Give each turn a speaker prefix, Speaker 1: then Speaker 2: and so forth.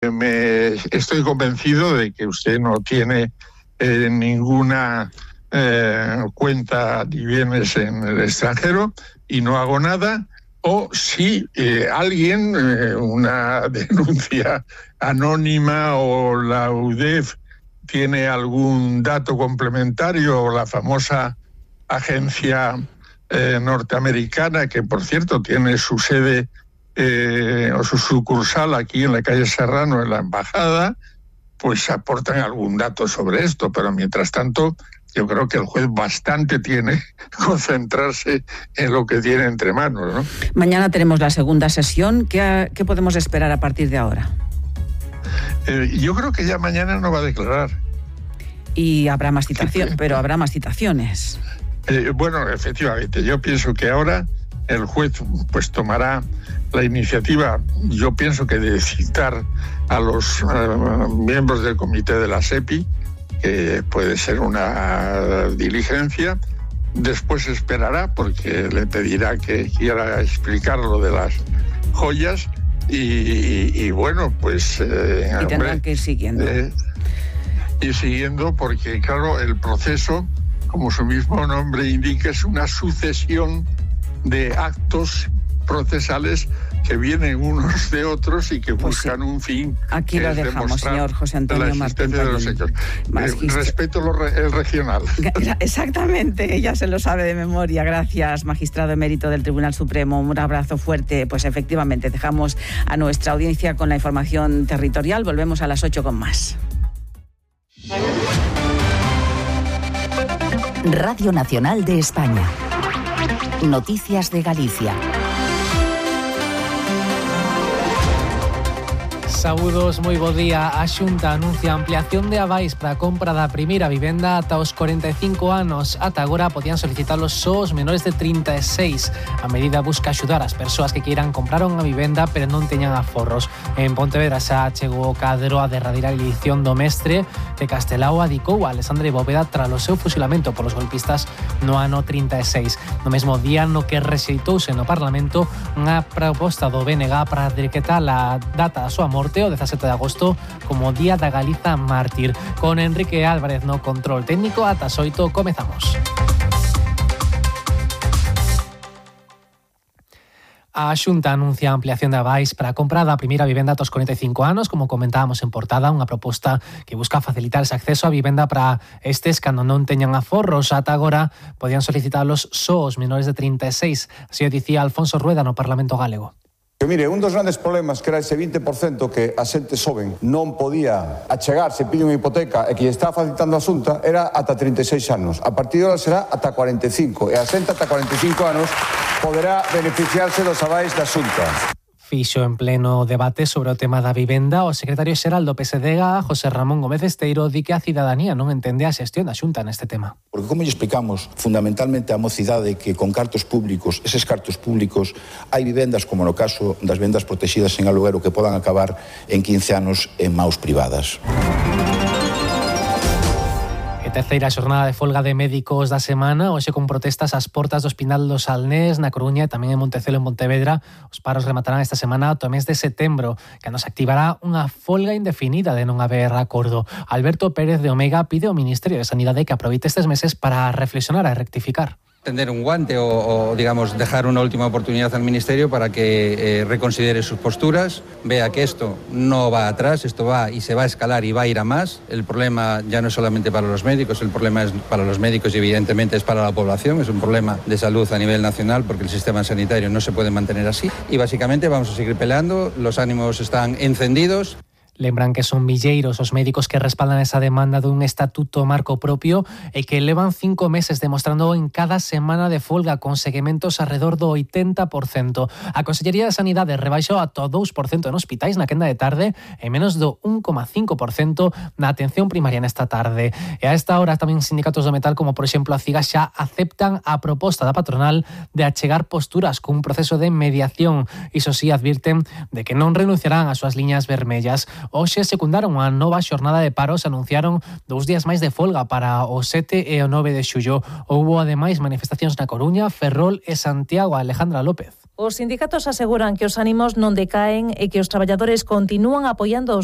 Speaker 1: Estoy convencido de que usted no tiene ninguna cuenta ni bienes en el extranjero y no hago nada. O si alguien, una denuncia anónima o la UDEF tiene algún dato complementario, o la famosa agencia norteamericana, que por cierto tiene su sede o su sucursal aquí en la calle Serrano, en la embajada, pues aportan algún dato sobre esto. Pero mientras tanto, yo creo que el juez bastante tiene que concentrarse en lo que tiene entre manos, ¿no?
Speaker 2: Mañana tenemos la segunda sesión. ¿Qué podemos esperar a partir de ahora?
Speaker 1: Yo creo que ya mañana no va a declarar.
Speaker 2: Y habrá más citaciones, pero habrá más citaciones.
Speaker 1: Bueno, efectivamente, yo pienso que ahora el juez pues tomará la iniciativa, yo pienso que de citar a los miembros del comité de la SEPI, que puede ser una diligencia. Después esperará, porque le pedirá que quiera explicar lo de las joyas y bueno, pues...
Speaker 2: y tendrán que ir siguiendo.
Speaker 1: Ir siguiendo, porque claro, el proceso, como su mismo nombre indica, es una sucesión de actos procesales que vienen unos de otros y que buscan un fin.
Speaker 2: Aquí lo dejamos, señor José Antonio Martín.
Speaker 1: De los hechos. Respeto el regional.
Speaker 2: Exactamente, ya se lo sabe de memoria. Gracias, magistrado emérito del Tribunal Supremo. Un abrazo fuerte. Pues efectivamente, dejamos a nuestra audiencia con la información territorial. Volvemos a las 8 con más.
Speaker 3: Radio Nacional de España. Noticias de Galicia.
Speaker 4: Saúdos, moi bo día. A Xunta anuncia a ampliación de avais para a compra da primeira vivenda ata os 45 anos. Ata agora podían solicitalos só os menores de 36. A medida busca axudar as persoas que queiran comprar unha vivenda pero non teñan aforros. En Pontevedra xa chegou o cadro a derradeira edición do mestre que Castelao adicou a Alexandre Bóveda tras o seu fusilamento polos golpistas no ano 36. No mesmo día no que rexeitouse no Parlamento unha proposta do BNG para decretar a data da súa morte o 17 de agosto como Día da Galiza Mártir. Con Enrique Álvarez no control técnico, ata as 8 comezamos. A Xunta anuncia a ampliación de avais para a compra da primeira vivenda ata os 45 anos, como comentábamos en portada, unha proposta que busca facilitar ese acceso a vivenda para estes cando non teñan aforros. Ata agora podían solicitalos só os menores de 36, así o dicía Alfonso Rueda no Parlamento Galego.
Speaker 5: Que mire, un dos grandes problemas que era ese 20% que a xente xoven non podía achegarse, pide unha hipoteca e que lle estaba facilitando a Xunta era ata 36 anos. A partir de ahora será ata 45 e a xente ata 45 anos poderá beneficiarse dos avais da Xunta.
Speaker 4: Fixo en pleno debate sobre o tema da vivenda o secretario xeral do PSDG, José Ramón Gómez Esteiro, di que a cidadanía non entende a xestión da Xunta neste tema.
Speaker 6: Porque como lle explicamos fundamentalmente a mocidade que con cartos públicos, eses cartos públicos, hai vivendas como no caso das vivendas protegidas en aluguero que podan acabar en 15 anos en maus privadas.
Speaker 4: Terceira xornada de folga de médicos da semana, hoxe con protestas ás portas do Hospital do Salnés, na Coruña e tamén en Montecelo, en Pontevedra. Os paros rematarán esta semana ata o mes de setembro, que nos activará unha folga indefinida de non haber acordo. Alberto Pérez de Omega pide ao Ministerio de Sanidade que aproveite estes meses para reflexionar e rectificar.
Speaker 7: Tender un guante o digamos, dejar una última oportunidad al Ministerio para que reconsidere sus posturas, vea que esto no va atrás, esto va y se va a escalar y va a ir a más. El problema ya no es solamente para los médicos, el problema es para los médicos y evidentemente es para la población, es un problema de salud a nivel nacional porque el sistema sanitario no se puede mantener así. Y básicamente vamos a seguir peleando, los ánimos están encendidos.
Speaker 4: Lembran que son milleiros os médicos que respaldan esa demanda dun estatuto marco propio e que levan 5 meses demostrando en cada semana de folga con seguimentos alrededor do 80%. A Consellería de Sanidade rebaixou ata o 2% en hospitais na quenda de tarde e menos do 1,5% na atención primaria nesta tarde. E a esta hora tamén sindicatos do metal como por exemplo a CIGA xa aceptan a proposta da patronal de achegar posturas cun proceso de mediación. Iso sí, advirten de que non renunciarán ás súas liñas vermellas. Hoxe secundaron unha nova xornada de paros, anunciaron 2 días máis de folga para o 7 e o 9 de xullo. Houbo ademais manifestacións na Coruña, Ferrol e Santiago. Alejandra López.
Speaker 8: Os sindicatos aseguran que os ánimos non decaen e que os traballadores continúan apoiando os